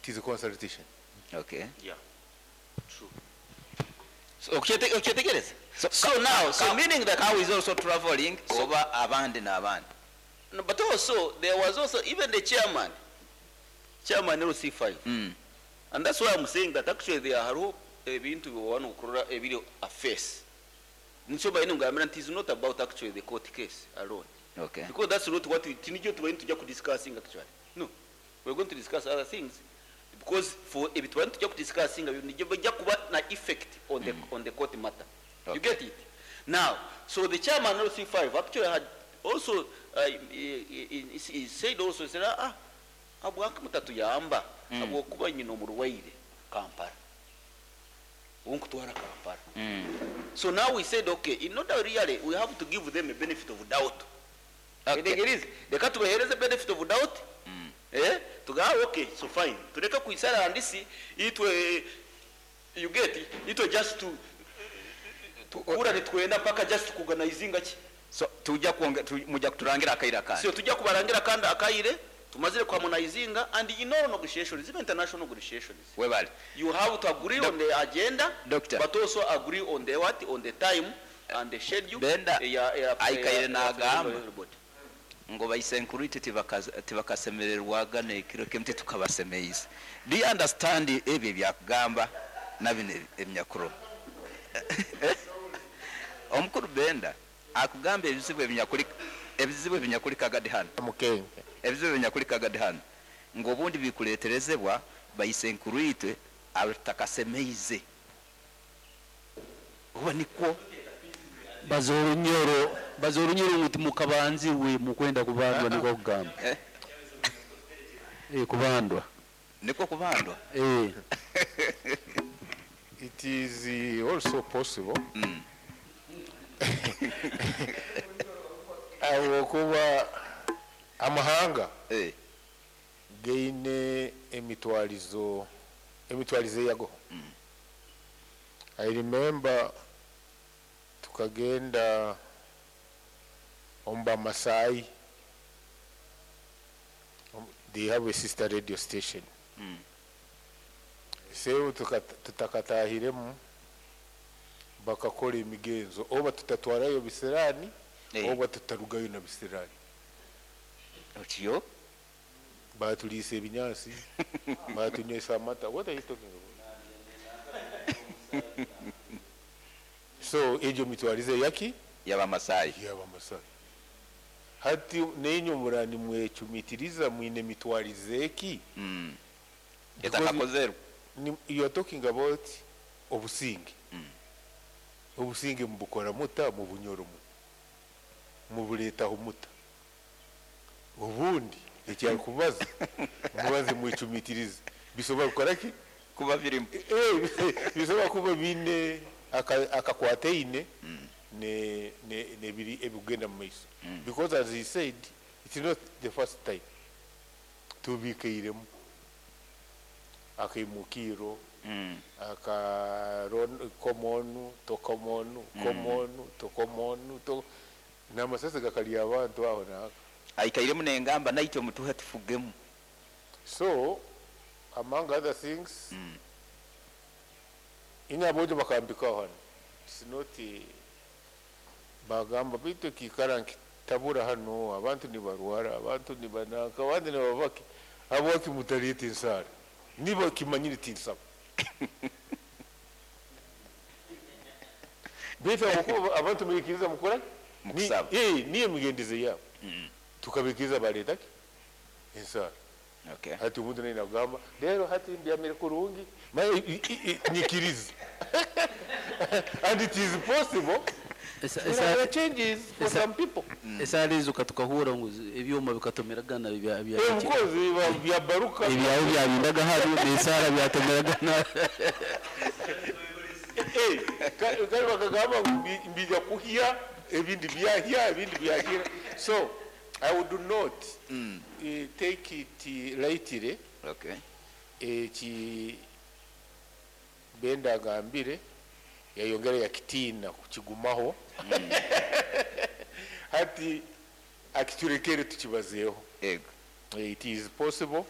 It is a consultation. Okay. Yeah. True. So, okyetegereza? So, So now, so meaning that cow is also traveling oba abandi n'abandi. No, but also there was also even the chairman, chairman LC5. And that's why I'm saying that actually there are ebintu wano kurora ebiri a face. Nico bayine ngambira nti it's not about actually the court case alone. Okay. Because that's not what we tinijyo tubayine tujya ku discussing actually. No. We're going to discuss other things because for ebintu bayine tujya ku discussing nijyo bijya kuba na effect on the on the court matter. You get it? Now, so the chairman LC5 actually had also he said also, he said, abwaka mutatuyamba abwokuba nyina omurwaire Kampala. Onkutwara Kampala. So now we said, okay, in order really, we have to give them a benefit of doubt. Okay. It is. Reka tubahereze benefit of doubt. Tuga, okay, so fine. Tureka kuisara andisi, itwe, you get it, itwe just to, tukura nitwenda paka just kuorganizinga ki. So tujja kuonge, tu, mujja kuturangira akaire akandi. So tujja kubarangira kandi akaire, tumazire kuharmonizinga, and in all negotiations, even international negotiations. Webale. You have to agree on the agenda, Doctor. but also agree on the what, on the time and the schedule. Benda, aikaire n'agamba. Everybody. Ngo baisenkurite tibakasemererwaga n'ekiro kimu titukabasemeize. Do you understand ebyo ebyakugamba na bino ebinyakuro? Omukuru Benda akugamba ebizibu ebinyakuri, ebizibu ebinyakuri kagadi hano. Mukenke. Ebizibu ebinyakuri kagadi hano. Ngo obundi bikuleterezebwa baisenkurite abatakasemeize. Oba nikwo Bazorunyoro, bazorunyoro ngu timukabanzi we mukwenda kubandwa niko kugamba. Kubandwa. Niko kubandwa. It is also possible. Abo kuba amahanga gaine emitwarizo yago. I remember tukagenda omba Masai. They have a sister radio station. Sebu tutakatahiremu bakakora emigenzo oba tutatwarayo bisirani, oba tutarugayo na bisirani. Otyo? Batulisa ebinyansi, batunywesa amata. What are you talking about? So ejo mitwarize yaki? Yaba Masai. Yaba Masai. Hati nenyo murani mwechumitiriza mwine mitwarize eki? Because Etakakozerwa. you are talking about obusinge. Obusinge mubukora muta mu bunyoro mu. Mubuletaho muta. Ubundi ekyakubaza mubaze mwechumitirize. Bisobola kukora ki? Kuba birimu. Bisobola kuba bine akakwateine ne ne biri ebigenda mu maiso. Because as he said, it's not the first time. Tubikeiremu. Akimukiro, akaron komonu, tokomonu, komonu, tokomonu, to namasase gakali abantu aho naka. Aikairemu nengamba naitwe mutuhe tufugemu. So among other things, inyabojo bakambika hano. It's not a bagamba bitu kikara nkitabura hano abantu ni barwara, abantu ni banaka, abandi ni babaki. Abo kimutarite insara. Niba kimanyiri tinsaba. Bitu abuko abantu mubikiriza mukora? Mukusaba. Niye mugendize yabo. Tukabikiriza bareta ki? Insara. Hati umuntu naye nagamba, rero hati mbyamire kurungi, nyikirize. And it is possible. There are changes for some people. Esale izo katukahura ngo ebyuma bikatomeragana bya Of course, bya baruka. Ebyawe byabindaga hano, n'esara byatomeragana. Kari bakagamba ngo mbijya kuhya, ebindi byahya, ebindi byahira. So I would not take it lightly. Eki Benda agambire yayongera yakitina kukigumaho. Hati akiturekere tukibazeho. It is possible.